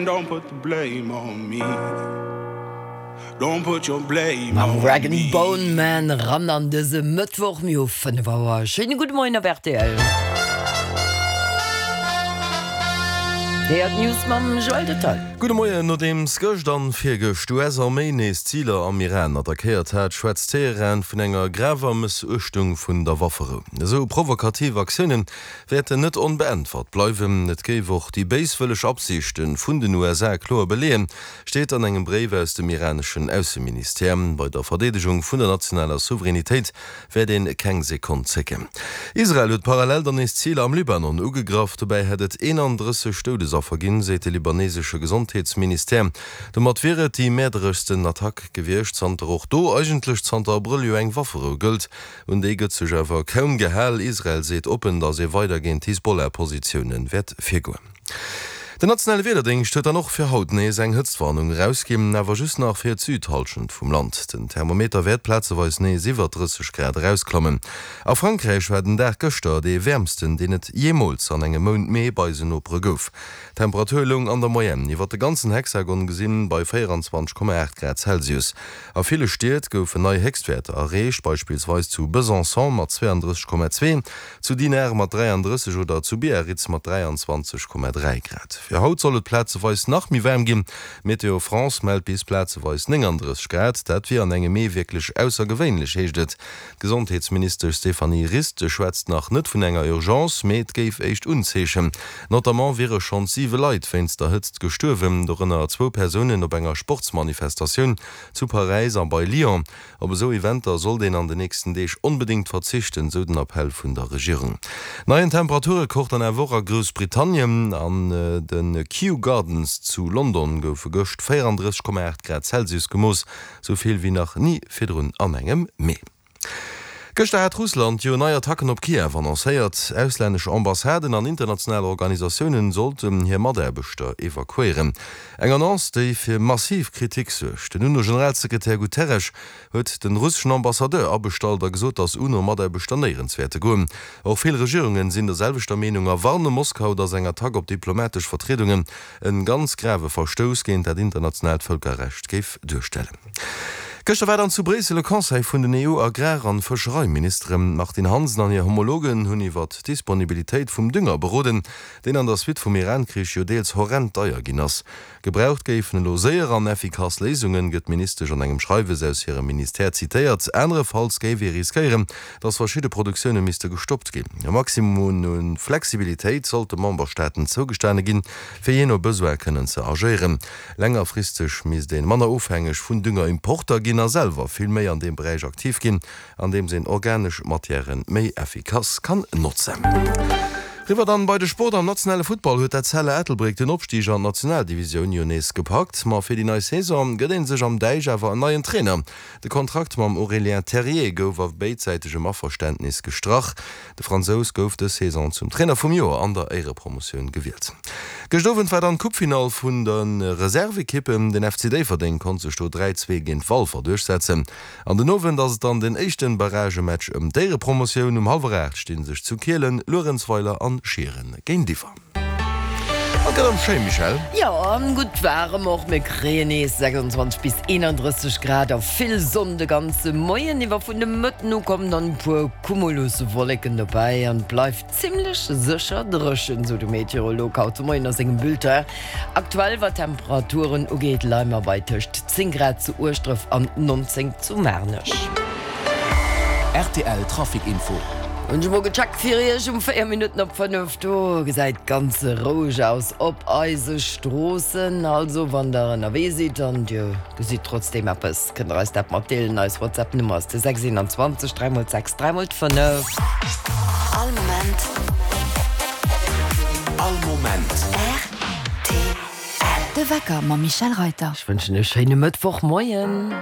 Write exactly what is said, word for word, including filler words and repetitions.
Don't put the blame on me. Don't put your blame Mam on Rag me. and Bone Man ran an dëse Mëttwoch. Mir hu fënnef Auer. Schéine gudde Moien op rtl. Hei d'News mam Joël Detail. Gudde Moien. Nodeems gëscht an virgëscht d'US-Arméi nees Ziler am Iran attackéiert hat, schwätzt Teheran vun enger graver Mëssuechtung vun der Wafferou. Esou provokativ Aktiounen wäerten net onbeäntwert bleiwen. Et géif och déi béiswëlleg Absichte vun den U S A kloer beleeën, steet an engem Bréif aus dem iraneschen Ausseministère. Bei der Verdeedegung vun der nationaler Souveränitéit wäert een keng Sekonn zécken. Israel huet parallel dann nees Ziler am Libanon ugegraff. Dobäi hätt et eenandrësseg Doudesaffer ginn, seet de libanesesche Gesondheetsministère. Domat wier et déi mäerdereschsten Attack gewiescht, zanter och do eigentlech zanter Abrëll jo eng Wafferou gëllt. Un déi gëtt sech awer kaum gehal. Israel seet oppen, datt ee weider géint d'Hisbollah-Positioune wäert virgoen. Den nationale Wiederdéngscht huet dann och fir haut nees eng Hëtztwarnung erausginn, awer just nach fir d'Südhallschent vum Land. Den Thermometer wäert plazeweis nees iwwer drësseg Grad erausklammen. A Frankräich war den Dag gëschter dee wäermsten, deen et jeemools an engem Mount Mee bei eisen Nopere gouf. D'Temperatur loung an der Moyenne iwwer de ganzen Hexagon gesinn bei véierenzwanzeg Komma aacht Grad Celsius. A ville Stied goufen nei Héchstwäerter erreecht, beispillsweis zu Besançon mat zweeandrësseg Komma zwee, zu Dinard mat dräiandrësseg oder zu Biarritz mat dräianzwanzeg Komma dräi Grad. Fir haut soll et plazeweis nach méi waarm ginn, Météo France mellt bis plazeweis néngandrësseg Grad. Dat wier an engem Mee wierklech aussergewéinlech, heescht et. D'Gesondheetsministesch Stéphanie Rist schwätzt nach net vun enger Urgence, mee et géif éischt Unzeechen. Notamment wiere schonns siwe Leit wéinst der Hëtzt gestuerwen, dorënner zwou Persounen op enger Sportsmanifestatioun zu Paräis a bei Lyon. Op esou Eventer sollt een an den nächsten Deeg onbedéngt verzichten, sou den Appell vun der Regierung. Neien Temperaturrekord dann awer och a Groussbritannien. An de Kew Gardens zu London goufe gëscht véierandrësseg Komma aacht Grad Celsius gemooss, sou vill wéi nach ni virdrun an engem Mee. Gëschter hat Russland jo nei Attacken op Kiew annoncéiert. Auslännesch Ambassaden an international Organisatiounen sollten hir Mataarbechter evakuéieren. Eng Annonce, déi fir massiv Kritik suergt. Den UNO-Generalsekretär Guterres huet de russeschen Ambassadeur abestallt a gesot, datt UNO-Mataarbechter néierens wäerte goen. Och vill Regierungen sinn der selwechter Meenung a warne Moskau, datt eng Attack op diplomatesch Vertriedungen e ganz grave Verstouss géint dat internationaalt Vëlkerrecht géif duerstellen. Gëschter war dann zu Bréissel e Conseil vun den E U-Agrar an Fëschereiministeren. D'Martine Hansen an hir Homologen hunn iwwert d'Disponibilitéit vum Dünger beroden, deen an der Suite vum Iran-Krich jo deels horrend deier ginn ass. Gebraucht géifen elo séier an effikass Léisungen, gëtt d'Ministesch an engem Schreiwes aus hirem Ministère zitéiert. Anerefalls géif ee riskéieren, datt verschidde Produktioune misste gestoppt ginn. E Maximum u Flexibilitéit sollt de Memberstaaten zougestane ginn, fir jee no Besoin kënnen ze agéieren. Längerfristeg misst ee manner ofhängeg vun Düngerimporter ginn a selwer vill méi an deem Beräich aktiv ginn, andeems een organesch Matièrë méi effikass kann notzen. Riwwer dann bei de Sport. Am nationale Futtball huet d'Etzella Ettelbréck den Opstig an d'Nationaldivisioun jo nees gepackt. Ma fir déi nei Saison gëtt ee sech am Däich awer en neien Trainer. De Kontrakt mam Aurélien Terrier gouf a béidsäitegem Averständnis gestrach. De Fransous gouf dës Saison zum Trainer vum Joer an der Éierepromotioun gewielt. Gëscht Owend war dann d'Coupefinall vun de Reservekippen. Den F C Déifferdeng konnt sech do dräi, zwee géint Walfer duerchsetzen. An den Owend ass et dann den éischten Barragematch ëm d'Éierepromotioun. Um hallwer aacht sti sech zu Kielen Luerenzweiler an Schieren géintiwwer. Et gëtt erëm schéi, Michèle. Jo, an gutt waarem och. Mir kréien nees sechsundzwanzeg bis eenandrësseg Grad a vill Sonn de ganze Moien iwwer. Vun de Mëtten u kommen dann e puer Cumuluswolleken dobäi an et bleift zimmlech sécher dréchen, sou de Meteorolog haut de Moien a sengem Bulletin. Aktuell, wat d'Temperaturen ugeet, leie mer bei tëscht zéng Grad zu Ueschdref an nonzéng zu Maarnech. R T L Trafic Info. Hunn ech mol gecheckt fir iech um véier Minutten op fënnef. Do gesäit ganz roueg aus op eise Stroossen. Also wann der ënnerwee sidd an dir gesitt trotzdeem eppes, kënnt der eis dat matdeelen. Eis WhatsApp Nummer ass de sechs eenanzwanzeg dräi mol sechs dräi mol fënnef. All Moment. All Moment. R T L. De Wecker mam Michèle Reyter. Ech wënschen e schéine Mëttwochmoien.